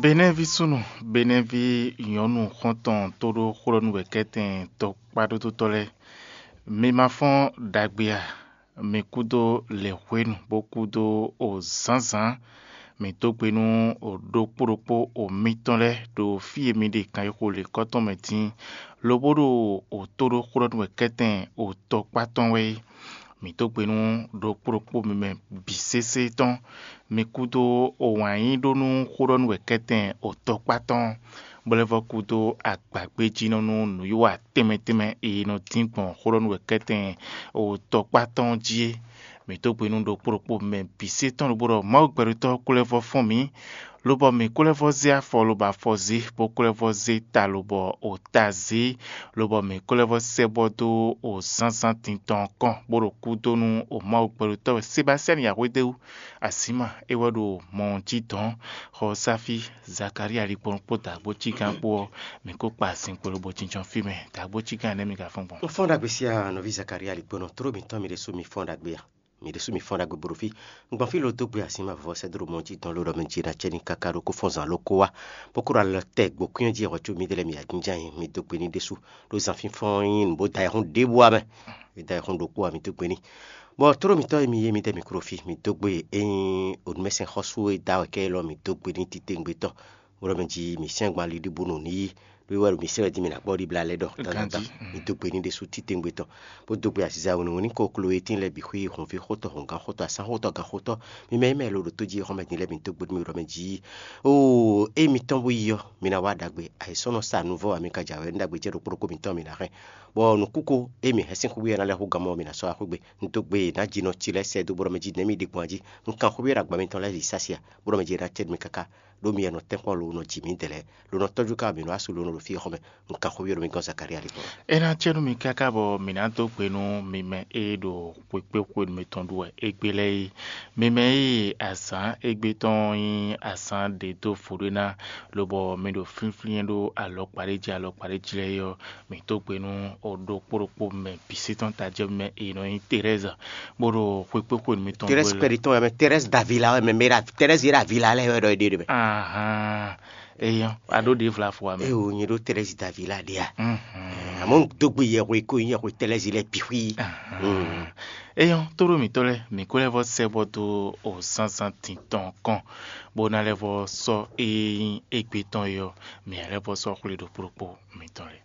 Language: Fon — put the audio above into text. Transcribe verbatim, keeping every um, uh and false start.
Benɛ́ví súnnu, Benɛ́ví nyɔ̌nu xɔ́ntɔn tóɖó xwlɔ́nú wɛ kɛ́tɛn tɔkpáɖótó lɛ́ɛ, mi ma fɔ́n ɖagbe a? Mi kúdó lɛ̌xwénu bó kúdó o zǎnzǎn. Mǐ dó gbe nú o ɖokpó ɖokpó o mitɔn lɛ́ɛ ɖo fí e mi ɖe kan e xo lěkɔ́ tɔn mɛ din, lobo ɖo o tóɖó xwlɔ́nú wɛ kɛ́tɛn o tɔkpá tɔn wɛ é. Mǐ dó gbe nú ɖokpó ɖokpó mi mɛ bǐ sésé tɔn. Mi kúdó o wǎn yí ɖó nú xó ɖɔ nú wɛ kɛ́tɛn o tɔkpá tɔn, bó lɛ́ vɔ́ kúdó agbagbéjínɔ nú nǔwiwa tɛnmɛ tɛnmɛ e nɔ dín gbɔn xó ɖɔ nú wɛ kɛ́tɛn o tɔkpá tɔn jí é. Mǐ dó gbe nú ɖokpó ɖokpó mɛ bǐ sé tɔn lobo ɖɔ Mawu gbɛɖotɔ́ kó lɛ́ vɔ́ fɔ́n mǐ, lobɔ mǐ kó lɛ́ vɔ́ zé afɔ lobɔ afɔ zé, bó kó lɛ́ vɔ́ zé ta lobɔ o ta zé, lobɔ mǐ kó lɛ́ vɔ́ sɛ́ bɔ dó o zǎnzǎn din tɔn kɔn, bó ɖo kúdó nú o Mawu gbɛɖotɔ́ wɛ Sebasɛ́ni Yǎhwédéwú. Asǐma é wɛ ɖo mɔ jí dɔ̌n, xɔ Sáfí, Zakalía ligbɔnnu kpó dǎgbó cígán kpó ɔ́, mǐ kó kpa zinkpo lobo jínjɔ́n fí mɛ. Dǎgbó cígán nɛ́ mi ka fɔ́n gbɔn? Un fɔ́n ɖagbe sí a, nɔví Zakalía ligbɔnnu, tló mǐtɔn mi ɖésú mi fɔ́n ɖagbe a? Mi ɖésú mi fɔ́n ɖagbe bo ɖo fí. Un gbɔn fí lo dó gbe asǐma vɔvɔ sɛ́ dó ɖo mɔ jí dɔn ló ɖɔ mɛ jí ná cɛ ní káká ɖó kó fɔ́n zǎn ló kó wá, bó kó ɖo alɔ tɛ gbǒkwín jí wɛ cóbí dɛ́ lɛ́ɛ mi yǎjínján nyi mi dó gbe ní ɖésú ɖó zan fínfɔ́n nyí nǔ bó da ayɛhún ɖěbǔ wá mɛ. Mi da ayɛhún ɖokpó wá mi dó gbe ní. Bɔ tló mǐtɔn e mi yé mi dɛ mi klo fí, mi dó gbe e nyí onúmɛsɛn xɔ́sú e da wɛ kɛ élɔ́ mi dó gbe ní titewungbe tɔn. Bó ɖɔ mɛ jí mi sɛ́n gban liɖíbúnu ní yí, ɖó é wɛ ɖo mi sɛ́n wɛ dín mi ná gbɔ ɖibla lɛ́ɛ ɖɔ dandandan. Mi dó gbe ní ɖésú titewungbe tɔn, bó dó gbe aziza wěnúwénú kó kló e tín lɛ́ɛ bǐ xwí honví xótɔn hɔngán xótɔn asán xótɔn gan xótɔn, mi mɛ e mɛ lo ɖo tó jí xɔmɛ din lɛ́ɛ mi dó gbe nú mi ɖɔ mɛ jí. Oo, é mitɔn bó yi ɔ́, mi ná wá ɖagbe, ayǐsɔ́nɔ sa nuvɔ́ wɛ mi ka jɛ awɛ nú ɖagbe jɛ ɖokpó ɖokpó mitɔn mi ná hɛn. Bɔ nǔkúko e mi hɛn sín xwé ɔ́ ná lɛ́ hú gan mɔ mi ná sɔ́ wá xwé gbe. Un dó gbe e nǎ ji nɔ ci lɛ́ɛ sɛ dó bó ɖɔ mɛ jí nɛ̌ mi ɖe gbɔn jí. Un kan xwé ɔ́ ɖo agba mitɔn lɛ́ɛ yi sásia, bó ɖɔ mɛ jí é ná cɛ mi káká. Ɖó mi wɛ nɔ tɛ́nkpɔ́n lo nɔ ji mǐdɛɛ lɛ́ɛ, lo nɔ tɔ́jú ká mǐ nɔ wá su lo nɔ ɖo fí xɔmɛ. Un kan xó ví ɖo mi gɔ́n Zakalía lí kpɔ́n. É ná cɛ nú mi káká bɔ mǐ ná dó gbe nú mi mɛ e ɖo xwekpéxwenu mitɔn ɖu wɛ égbé lɛ́ɛ é. Mi mɛ e azǎn égbé tɔn nyí azǎn ɖě dó vodó ná, lobɔ mi ɖo flínflín ɖó alɔkpa ɖé jí alɔkpa ɖé jí lɛ́ɛ é ɔ́, mǐ dó gbe nú ɖokpó ɖokpó mɛ bǐ sí tɔn tajɛ́ mɛ e nɔ nyí Terɛ́za, bó ɖo xwekpéxwenu mitɔn ɖu Terɛ́si wɛ. Kpɛɖi tɔn wɛ mɛ, Terɛ́si Davila wɛ mɛ, mɛ ɖa Terɛ́si yě ɖo avila lɛ́ɛ wɛ ɖɔ é ɖe ɖe mɛ. Ahan. Eyɔn, a ɖó ɖě vla fo amɛ. Eo, nyɛ ɖó Terɛ́si Davila ɖe a. Mhm. Àmọ́ dógbe yɛhwe kó yɛhwe Terɛ́si lɛ bǐ xwí. Ahan. Mm. Eyɔn, tóɖó mǐtɔn lɛ́ɛ, mǐ kó lɛ́ vɔ sɛ bɔ dó o zánzán tintɔn kɔn, bó ná lɛ́ vɔ sɔ́ e nyí égbé tɔn é ɔ́, mǐ lɛ́ vɔ sɔ́ xwlé ɖokpó ɖokpó mǐtɔn lɛ́ɛ.